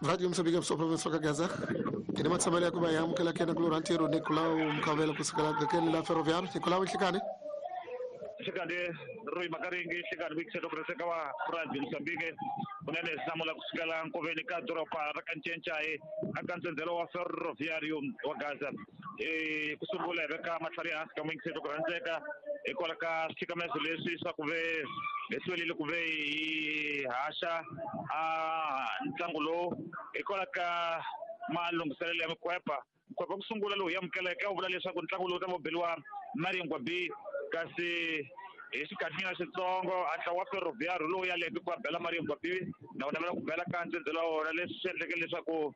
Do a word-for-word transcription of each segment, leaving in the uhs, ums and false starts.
Radio Mozambique province ka Gaza ine matshamelo ya ku va hi amukela kena ku lora ntirho Nicolau Mkhavela kusukela gakeni la Ferroviário. Nicolau, nhlikani nhlikani Roy Makaringi, nhlikani vuyikiselo ku rheseka wa Radio Mozambique kunene hlamula kusukela nkoveni ka doroba ra ka Ncencai aka ntsendzelo wa Ferroviário wa Gaza. E ku sungula hi veka matlhari ehansi ka muyingiselo ku rhandzeka hikwalaho ka switshikamezo leswi swa ku ve hi hlwerile ku ve hi haxa a ntlangu lowu hikwalaho ka malunghiselelo ya mikhwepa. Nkhwepa ku sungula lowu hi amukeleke wu vula leswaku ntlangu lowu ta va beliwa Maringwa B, kasi hi xikhathinyana xitsongo a ntlawa wa Ferroviário lowu yaleke ku bela Maringwa B na wona va ku bela ka ntsendzelo wa wona, leswi swi endleke leswaku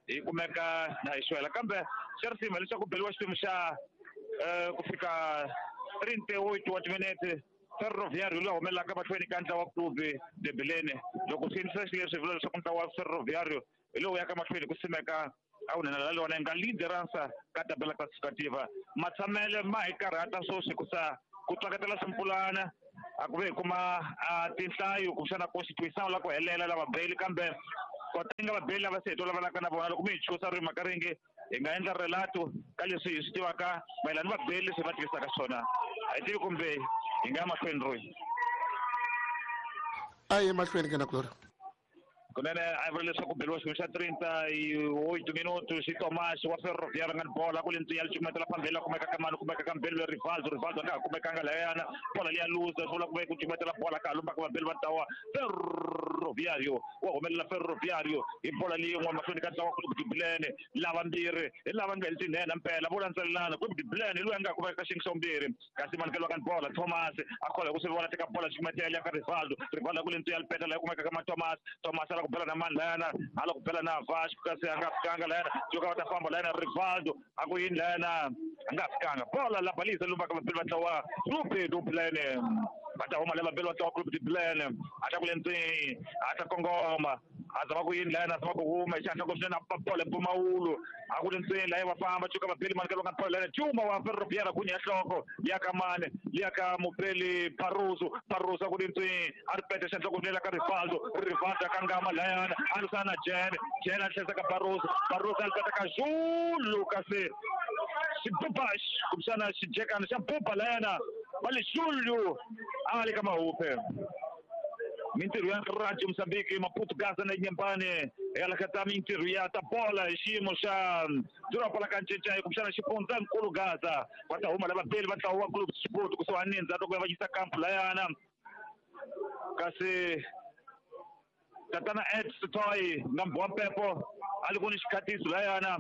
hi kumeka na hi xwela. Kambe xa risima leswaku beliwa xiphemu xa ku fika trinta e oito wa timinete Ferroviário lowu humelelaka mahlweni ka ntlawa wa Clube de Belém. Loko swi endlisa xileswi vula leswaku ntlawa wa Ferroviário hi lowu yaka mahlweni ku simeka a wu nena lona nga liderança ka tabela classificativa. Matshamele ma hi karhata sweswi ku sa ku tsakatela swimpulana a ku ve hi kuma tinhlayo kumbexana constitution la ku helela lava beli, kambe kota nga vabeli lava se hi tolovelaka na vona. Loko mi hi chusa ri Makaringi hi nga endla relato ka leswi hi swi tivaka mayelana ni vabeli leswi va tivisaka swona. A hi tivi kumbe hi nga ya mahlweni Roy. A hi mahlweni ke na Gloria. Kunene a vula leswaku beliwa xilo xa trinta e oito minutos xi Tomás wa Ferroviário nga ni bola ku le ndzeni ya licumetela phambili kumeka ka mani kumeka ka mbeli Rivaldo Rivaldo a nga ha kumekanga layana bola liya luza swi vula ku ve ku cumetela bola ka lumba ka vabeli va ntlawa Ferroviário wa humelela Ferroviário hi bola leyin'we mahlweni ka ntlawa Clube de Belém. Lava mbirhi hi lava nga heli tinhena mpela vo landzelelana. Clube de Belém hi loyi a nga kumeka ka xiyenge xa vumbirhi, kasi manikelo ka bola Thomas a khola hi ku swi vona teka bola cumetela ya ka Rivaldo Rivaldo ku le ndzeni ya lipeta laha kumeka ka ma Thomas Thomas ala ku bela na mani layana ala ku bela na Vasco kasi a nga fikanga layana joka va ta famba layana Rivaldo a ku yini layana a nga fikanga bola la balisa lumba ka vabeli va ntlawa Clube de Belém va ta huma la vabeli va ntlawa Clube de Belém a ta ku le ndzeni a ta kongoma a zama ku yini layana a zama ku huma hi xihatla ku swinene a bola mpfumawulo a ku le ndzeni laya va famba cuka vabeli mani ka va nga bola layana Juma wa Ferroviário ku nya nhloko ya ka mani ya ka mupeli Barroso Barroso a ku le ndzeni a ri peta xandla ku swinene ka Rivaldo Rivaldo a kangama layana a lwisana na Jene Jene a tlhesa ka Barroso Barroso a lipeta ka Zulu kasi xibuba kumbexana xijekana xa buba layana va le Zulu a le ka Mahupe. Mintirho ya Radio Mozambique Maputo Gaza na Inhambane ela ka ta mintirho ya ta bola hi xiyimo xa doroba la ka Ncencai kumbexana xifundzankulu Gaza va ta huma lava beli va ntlawa wa Clube Sport kusuhani ndzhaku ku ya va yisa kampu layana kasi tatana Ed Sitoy nga mbwa mpepo a li ku ni xikhatiso layana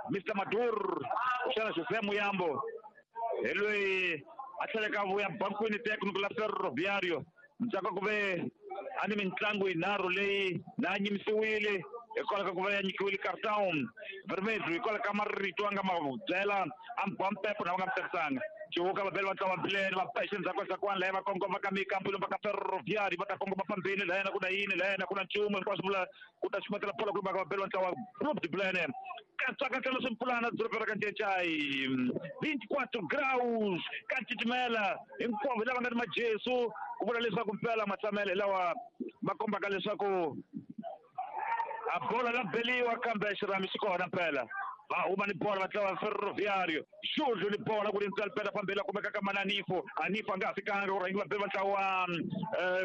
Mister Madur kumbexana José Muyambo hi loyi a tlheleka vuya bankwini técnico la Ferroviário ndzhaku ku ve a ni mitlangu yinharhu leyi na nyimisiwile hikwalaho ka ku va ya nyikiwile cartão vermelho hikwalaho ka marito a nga ma byela a mbwa mpepo na va nga mi tsakisanga. Cuka vabeli va ntlawa Belém va pexe ndzhaku ndzhakwani laya va kongoma ka mikampu va ka Ferroviário va ta kongoma phambili layana ku na yini layana ku na nchumu hinkwaswo vula ku ta xumetela bola ku lumba ka vabeli va ntlawa Clube de Belém. Katsakatela swimpulana doroba ra ka Ncencai vinte e quatro graus ka titimela hinkwavo lava nga ni majesu ku vula leswaku mpela matshamelo hi lawa ma kombaka leswaku a bola la beliwa kambe xirhami xi kona mpela va huma ni bola va ntlawa Ferroviário Xudlu ni bola ku ri ntswalo pela fambela kumeka ka Mananifo Anifo a nga ha fikanga ku rhangi vabeli va ntlawa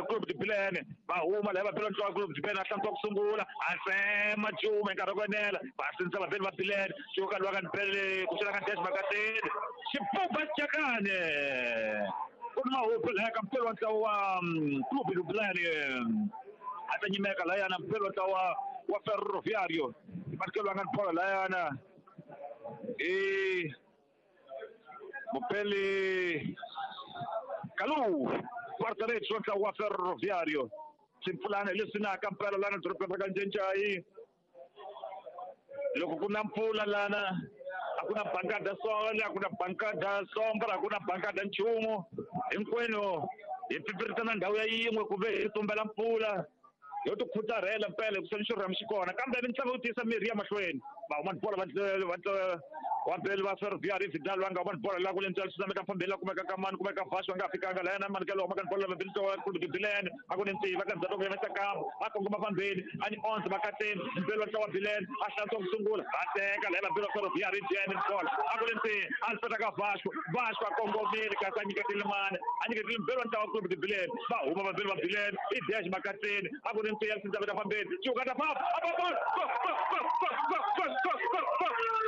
Clube de Belém va huma laha vabeli va ntlawa Clube de Belém a hlantswa ku sungula a tsema Juma hi nkarhi wa ku enela va sindzisa vabeli va Belém cuka lowa ka ni bele ku xela ka Des Makateni xibuba xicakane ku ni mahupu lahaya ka mpeli wa ntlawa wa Clube de Belém a ta nyimeka layana mpeli wa ntlawa wa Ferroviário manikelo a nga ni bola layana e mupeli Kalu guarda-redes wa ntlawa wa Ferroviário swimpfulana hi leswi naka mpela lana dorobeni ra ka Ncencai loko ku na mpfula lana a ku na bankada sole a ku na bankada sombra a ku na bankada nchumu hinkwenu hi pfipfiritana ndhawu ya yin'we ku ve hi tumbela mpfula yo ti khutarhela mpela hikusa ni xirhami xi kona kambe mitlangu yo tiyisa mirhi ya mahlweni. Va huma bola va va wa Mbeli va Ferroviário Vidal va nga huma bola la ku le ntswalo swi fambeni la kumeka ka mani kumeka Vasco va nga fikanga la yena mani ka lowu maka bola va Mbeli wa Clube de Bilene a ku ni ntiyi va ka ndzhaku ku yena kampo a kongoma fambeni a ni onze va kateni Mbeli wa ntlawa Bilene a hlantswa ku sungula a teka la yena Mbeli wa Ferroviário Jene bola a ku le ntiyi a ni ka Vasco Vasco a kongomile kasi a nyiketile mani a nyiketile Mbeli wa ntlawa Clube de Bilene va huma va Mbeli wa Bilene i dash makateni a ku ni ntiyi a swi fambeni cuka ta pap a pa go go go go go go go go